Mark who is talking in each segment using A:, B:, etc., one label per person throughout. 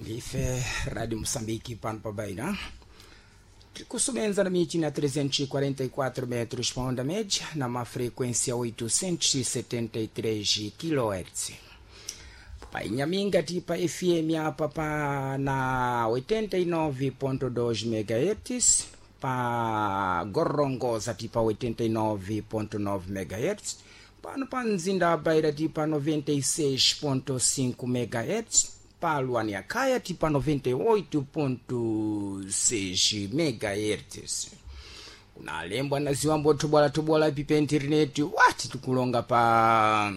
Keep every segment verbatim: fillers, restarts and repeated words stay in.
A: Ndife Rádio Moçambique pano pa Beira. Tikusubenza na michi na trezentos e quarenta e quatro metros pa onda média, na frequência oitocentos e setenta e três quilohertz. Pa Inhaminga tipa F M apa pa na oitenta e nove ponto dois megahertz, pa Gorongosa tipa oitenta e nove ponto nove megahertz, pano pa mzinda wa Beira tipa noventa e seis ponto cinco megahertz, pa Luaniakaya tipa noventa e oito ponto seis megahertz. Kuna lembwa na ziwambo tubwala tubwala pipa internet wati tikulonga pa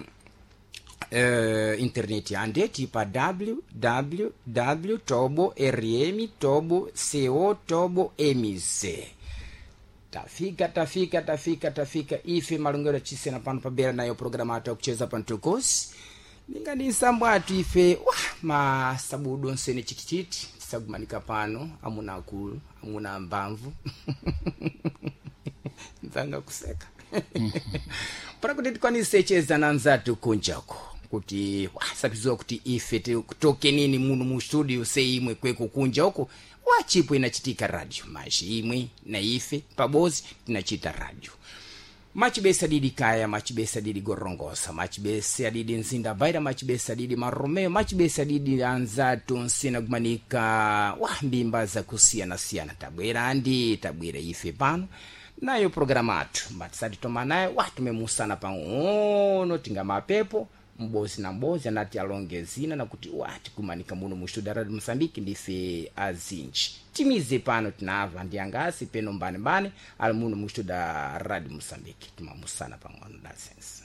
A: uh, internet ande tipa W W W tobo R M tobo co tobo M Z. Tafika, tafika, tafika, tafika ife malongero chisena pano pabera nayo programa atu yakucheza pantukosi ninga ni nsambo atu ife wa masabudu onsene chitichiti tisagumanika pano, amuna akulu, amuna ambamvu, nzanga kuseka para kuti tikwanise cheza na nzatu kunjako kuti wasapiziwa kuti ife toke nini muno mu studio seimwe kweko kunja uko wachipo inachitika radio maji imwe na ife pabozi tinachita radio. Machibesa didi Kaya, machibesa didi Gorongosa, machibesa didi Nzinda Baira, machibesa didi Maromeo, machibesa didi anzatu nsina kumanika wa mbimba za kusiyana-siyana. Tabwera andi tabwera ife pano nayo programa atu matisati toma nayo watumemusana pang'ono tinga mapepo mbozi na mbozi anati alonge zina nakuti wati kumanika muno mu studio Radio Moçambique ndife azinji timize pano tinava ndi angasi peno mbane mbane ali muno mu studio Radio Moçambique timamusana pang'ono dasense.